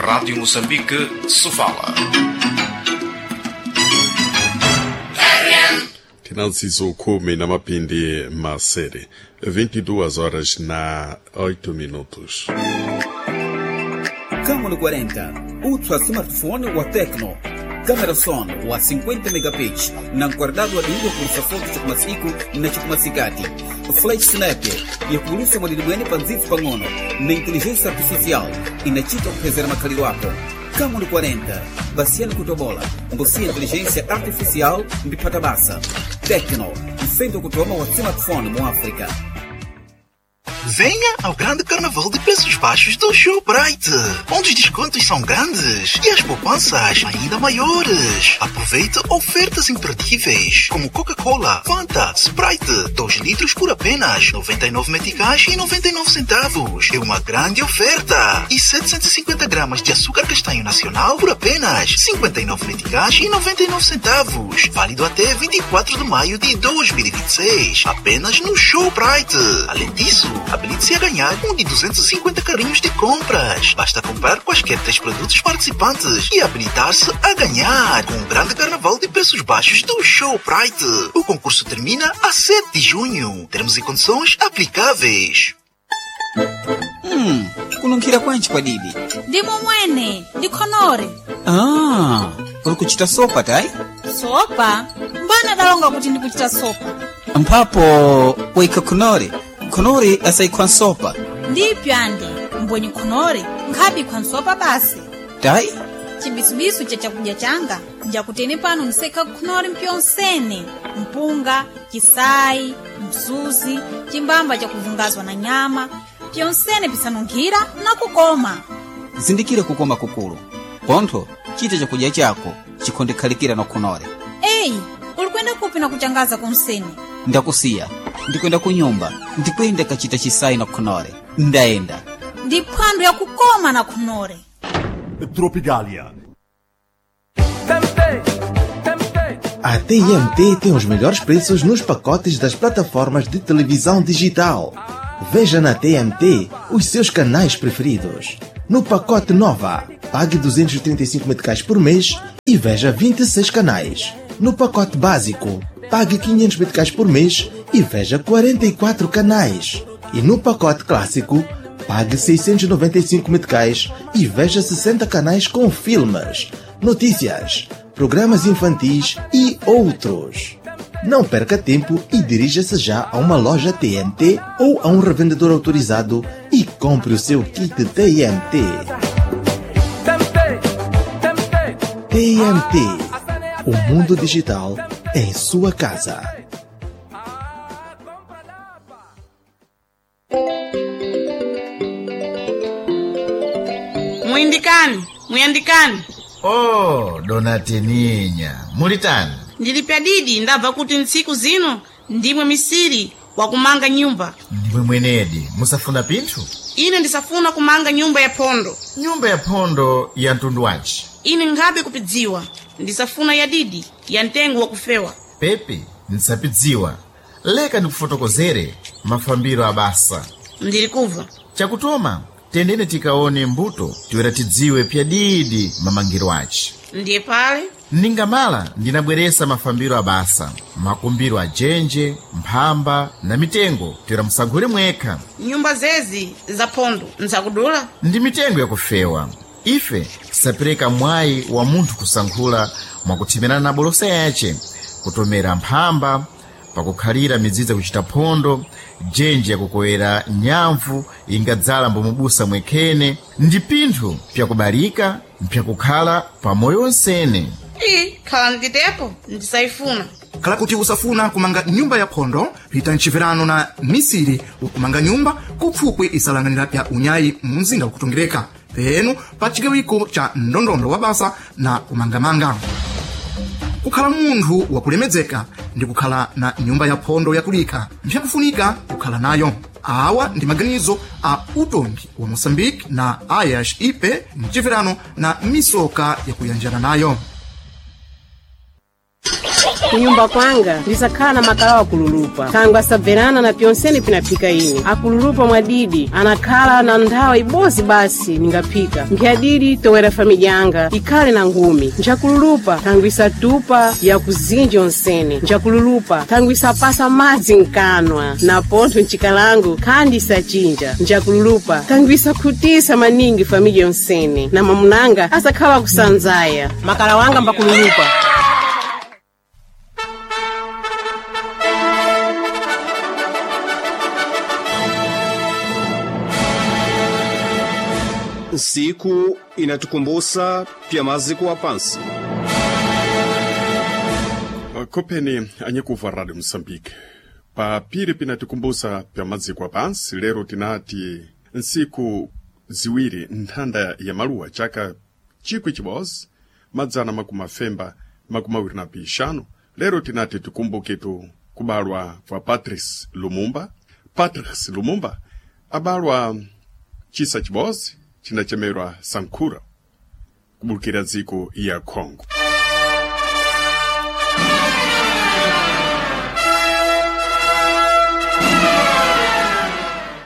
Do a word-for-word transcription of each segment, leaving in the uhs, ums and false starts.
Rádio Moçambique, Sofala. Tinansizo kumi na mapindi masere vinte e duas horas na oito minutos. Camon quarenta, ultra smartphone wa Tecno. Câmera son wa cinquenta megapixels, na guardado adingo por foto chakumasiku na chakumasikati. Flash snap yakulusa mwadidimwene panzifu pang'ono na inteligência artificial inachita kupezera makhaliro ako. Camon quarenta, basiano kutobola, mbusia inteligência artificial mbipata basa. Tecno, mfendo kutoma wa smartphone mu África. Venha ao grande carnaval de preços baixos do Shoprite, onde os descontos são grandes e as poupanças ainda maiores. Aproveite ofertas imperdíveis, como Coca-Cola, Fanta, Sprite, dois litros por apenas noventa e nove meticais e noventa e nove centavos. É uma grande oferta. E setecentos e cinquenta gramas de açúcar castanho nacional por apenas cinquenta e nove meticais e noventa e nove centavos. Válido até vinte e quatro de maio de dois mil e vinte e seis. Apenas no Shoprite. Além disso, habilite-se a ganhar um de duzentos e cinquenta carrinhos de compras. Basta comprar quaisquer três produtos participantes e habilitar-se a ganhar com o grande carnaval de preços baixos do Shoprite. O concurso termina a sete de junho. Termos e condições aplicáveis. Hum, kununkhira kwanji kwadidi? Ndimo mwene, ndikhonore. Ah, uli kuchita sopa tayi? Sopa? Mbana dalonga kuti ndikuchita sopa? Mphapo waikha khonore. Khonore asayikhwa nsopa. Ndipyo andi mbwenye khonore nkhabikhwa nsopa basi. Tayi? Chibisubisu cha chakudya changa njakutene pano ndisekha khonore mpyonsene mpunga, chisayi, msuzi, chimbamba chakuvungazwa na nyama, pyonsene pisanunkhira na kukoma. Zindikire kukoma kukulu pontho chita chakudya chako chikhondekhalikira na khonore. Eyi, uli kwenda kupi na kuchangaza kunsene? Ndakusiya, ndikwenda kunyumba, ndikwenda kachita chisayi na khonore. Ndayenda. Ndi phwando yakukoma na khonore. Tropicalia. A T M T tem os melhores preços nos pacotes das plataformas de televisão digital. Veja na T M T os seus canais preferidos. No pacote Nova, pague duzentos e trinta e cinco meticais por mês e veja vinte e seis canais. No pacote Básico, pague quinhentos meticais por mês e veja quarenta e quatro canais. E no pacote Clássico, pague seiscentos e noventa e cinco meticais e veja sessenta canais com filmes, notícias, programas infantis e outros. Não perca tempo e dirija-se já a uma loja T M T ou a um revendedor autorizado e compre o seu kit T M T. T M T. O mundo digital em sua casa. Muyindikani, muyandikani. Oh, dona Teninya, mulitani? Ndili pyadidi, ndabva kuti ntsiku zino ndimwe misiri wakumanga nyumba. Ndimwe mwenedi, musafuna pinthu? Ine ndisafuna kumanga nyumba ya phondo. Nyumba ya phondo ya mtundu wanji? Ine nkhabe kupidziwa, ndisafuna ya didi, ya mtengo wakufewa. Pepe, ndisapidziwa. Leka ndikufotokozere mafambiro abasa. Ndili kubva. Chakutoma, tendene tikaone mbuto tiwera tidziwe pyadidi mamangiro aci. Ndiye pale. Ningamala ndinabweresa mafambiro abasa, makumbiro ajenje, mphamba na mitengo tiwera musankhule mwekha. Nyumba zezi za phondo nzakudula? Ndi mitengo yakufewa. Ife tisapereka mwayi wa munthu kusankhula mwakuthemerana na bolosa yace, kutomera mphamba pakukhalira midzidzi kuchita phondo, jenje yakukowera nyamvu ingadzala mbomubusa mwekhene. Ndi pinthu pyakubalika, mpyakukhala pamoyo onsene. Iyi khala nditepo, ndisayifuna. Khala kuti usafuna kumanga nyumba ya phondo, pita mchiverano na misiri wakumanga nyumba kupfupwi isalanganira pya unyayi mu mzinda wakutongereka penu pa chigawiko cha ndondondo wa basa na kumangamanga. Kukhala munthu wakulemedzeka ndi kukhala na nyumba ya phondo yakulika mpyakufunika kukhala nayo. Awa ndi maganizo a utongi wa Moçambique na ayas ipe mchiverano na misoka yakuyanjana nayo. Kunyumba kwanga ndisakhala na makala wakululupa thangwe asabverana na pyonsene pinaphika ine akululupa mwadidi anakhala na nthawi ibozi basi ningaphika nkhyadidi towera famidya yanga ikhale na ngumi njakululupa thangwe isatupa yakuzinja onsene njakululupa thangwe isapasa madzi mkanwa na pontho ncikalango khandi isachinja njakululupa thangwe isakhutisa maningi famidya yonsene na mamunanga asakhala kusanzaya makala wanga mbakululupa. Siku inatukumbusa pya maziko wa pansi. Kopeni anyikuva Radio Mosambike papiri pinatikumbusa pya maziko apansi. Lero tinati ntsiku ziwiri nthanda ya maluwa chaka chikwi chibodzi madzana makumi afemba makumi awiri na pixanu. Lero tinati tikumbuketu kubalwa kwa Patrice Lumumba. Patrice Lumumba abalwa chisa chibodzi chinachemerwa Sankura kubulukira dziko ya Congo.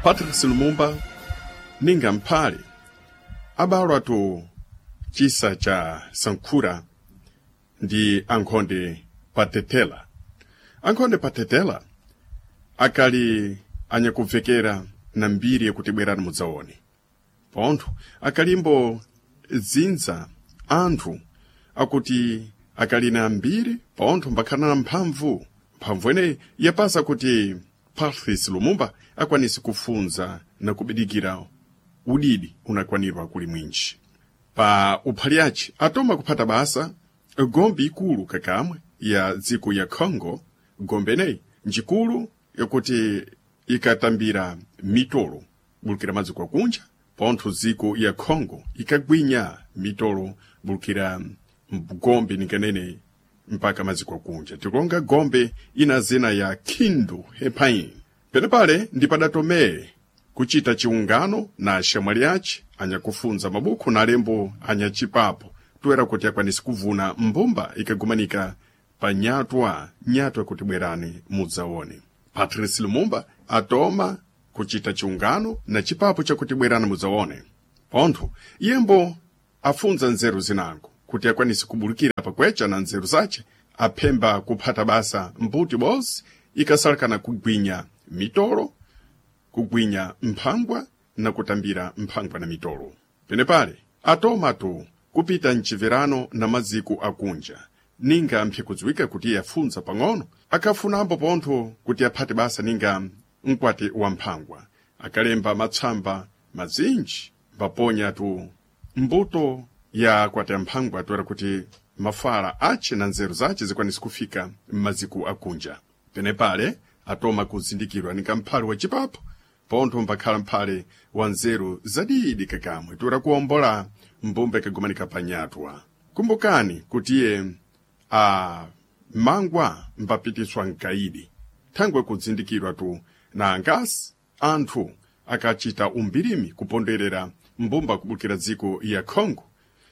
Patrice Lumumba ninga mphale abalwa tu chisa cha Sankura ndi ankhonde Patetela. Ankhonde Patetela akali anyakubvekera na mbiri yakuti bwerani mudzaone. Pontho akalimbo dzinza anthu akuti akali na mbiri pontho mbakhala na mphamvu. Mphamvu ineyi yapasa kuti Patrice Lumumba akwanise kufunza na kubidikira udidi unakwanirwa kuli mwinji. Pa uphali ace atoma kuphata basa gombe ikulu kakamwe ya dziko ya Congo. Gombe ineyi njikulu yakuti ikatambira mitolo bulukira madziko akunja. Pontho dziko ya Congo ikagwinya mitolo bulukira gombe ninganene mpaka maziko akunja. Tikulonga gombe ina zina ya Kindu Hepain. Penepale ndi padatomere kuchita chiungano na axamwali ace anyakufunza mabuku na alembo anyachipapo toera kuti akwanise kuvuna mbumba ikagumanika pa nyatwa nyatwa kuti bwerani mudzaone. Patrice Lumumba atoma kuchita chiungano na chipapo chakuti bwerani mudzaone. Pontho iyembo afunza nzeru zinango kuti akwanise kubulukira pakwecha na nzeru zace aphemba kuphata basa mbuti bozi ikasalakana kugwinya mitolo, kugwinya mphangwa na kutambira mphangwa na mitolo. Penepale atomatu kupita mchiverano na maziko akunja ninga mphe kudziwika kuti iye afunza pang'ono akafunambo pontho kuti aphate basa ninga mkwati wa mphangwa akalemba matsamba mazinji mbaponya tu mbuto ya kwati amphangwa toera kuti mafala ace na nzeru zace zikwanise kufika m'maziko akunja. Penepale atoma kuzindikirwa ninga mphale wa chipapo pontho mbakhala mphale wa nzeru zadidi kakamwe toera kuwombola mbumba ikagumanika pa nyatwa. Kumbukani kuti iye amangwa mbapitiswa mkaidi thangwe kudzindikirwa tu na angasi anthu akachita umbirimi kuponderera mbumba kubukira dziko ya Congo.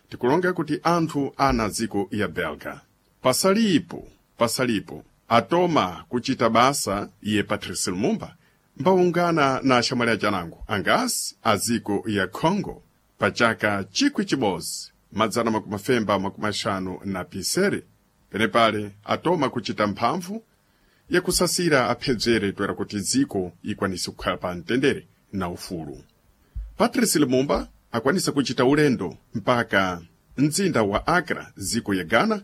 Tikulonga kuti anthu ana dziko ya Belga. Pasalipo pasalipo atoma kuchita basa iye Patrice Lumumba mbaungana na axamwali achanango angasi a dziko ya Congo pa chaka chikwi chibodzi madzana makumi afemba makumi axanu na pisere. Penepale atoma kuchita mphamvu yakusasira aphedzere toera kuti dziko ikwanise kukhala pa mtendere na ufulu. Patrice Lumumba akwanisa kuchita ulendo mpaka mzinda wa Accra dziko ya Ghana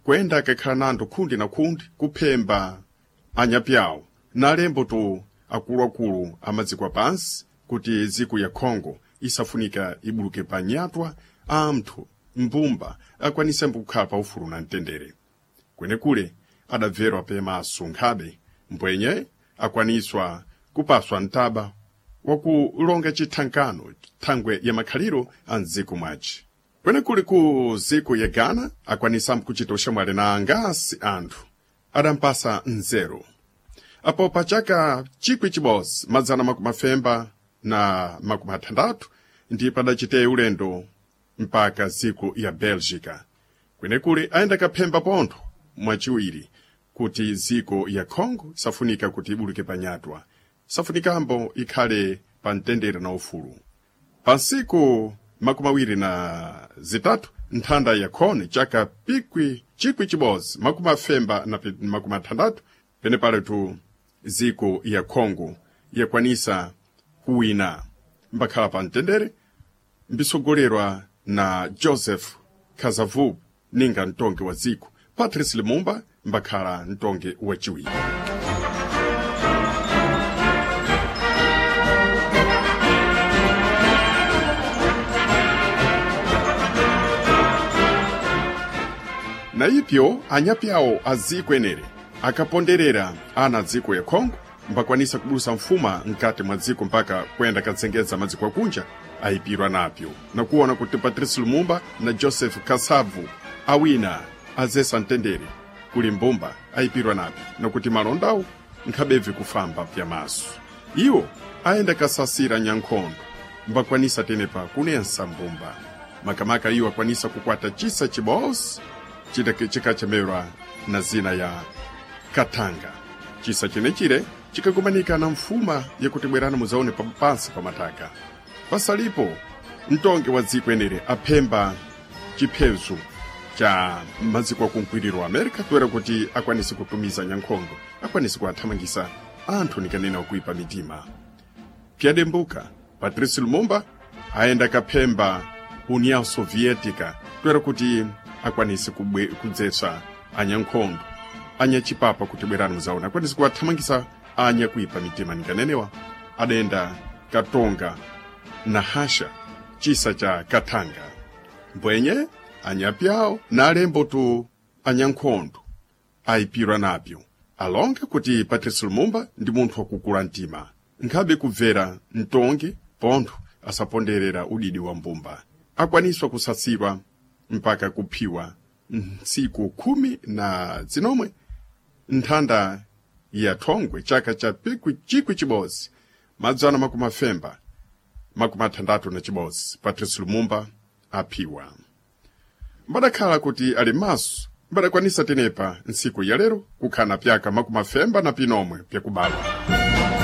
kuyenda akakhala nando khundi na khundi kuphemba anyapyawo na alembo tu akuluakulu amadziko apansi kuti dziko ya Congo isafunika ibuluke pa nyatwa anthu mbumba akwanisembo kukhala pa ufulu na mtendere. Kwenekule adabverwa pemaso nkhabe mbwenye akwaniswa kupaswa mtaba wakulonga chithankano thangwe ya makhaliro a mdziko mwace. Kwenekuli ku dziko ya Ghana akwanisambo kuchita uxamwali na angasi anthu adampasa nzeru. Apo pa chaka chikwi chibodzi madzana makumi afemba na makumi athandatu ndi padachiteyi ulendo mpaka dziko ya Belgica. Kwenekuli ayenda kaphemba pontho mwachiwiri kuti ziko ya Congo safunika kuti ibuluke panyatwa, safunikambo ikhale pa mtendere na ufulu. Pa nsiku makumi awiri na zitatu nthanda ya khone chaka pikwi chikwi chibodzi makumi afemba na pi- makumi athandatu penepaletu ziko ya Congo yakwanisa kuwina mbakhala pa mtendere mbisogolerwa na Joseph Kasavubu ninga mtongi wa dziko, Patrice Lumumba mbakhala mtongi wachiwiri. Na ipyo anyapyawo a dziko enere akaponderera ana dziko ya Congo mbakwanisa kubulusa mfuma mkati mwa dziko mpaka kuyenda katsengedza madziko akunja ayipirwa napyo nakuona kuti Patrice Lumumba na Joseph Kasavu awina azesa mtendere kuli mbumba ayipirwa napyo nakuti malondawo nkhabebve kufamba pyamaso. Iwo ayenda kasasira nyankhondo mbakwanisa tenepa kunensa mbumba makamaka iwo akwanisa kukwata chisa chibosi chikachemerwa na zina ya Katanga. Chisa chenechire chikakumanika na mfuma yakuti bwerani muzaone pa- pansi pa mataka. Pasalipo mtongi wa dziko enere aphemba chiphezu cha maziko akunkwiriro wa America toera kuti akwanise kutumiza nyankhondo, akwanise kuathamangisa anthu nikanena okuipa mitima. Pyadembuka Patrice Lumumba ayenda kaphemba União Soviética toera kuti akwanise kubwe- kudzetsa anyankhondo anyachipapa kuti bwerani muzaona akwanise kuwathamangisa anya kuipa mitima nikanenewa adenda katonga na hasha chisa cha Katanga mbwenye anyapyawo na alembo tu anyankhondo ayipirwa napyo alonge kuti Patrice Lumumba ndi munthu wakukula mtima nkhabe kubvera mtongi pontho asaponderera udidi wa mbumba akwaniswa kusasirwa mpaka kuphiwa ntsiku khumi na zinomwe nthanda ya thongwe chaka cha pikwi chikwi chibodzi madzana makumi afemba makumi athandatu na chibodzi Patrice Lumumba aphiwa. Mbadakhala kuti ali maso mbadakwanisa tenepa ntsiku ya lero kukhana pyaka makumi afemba na pinomwe pyakubalwa.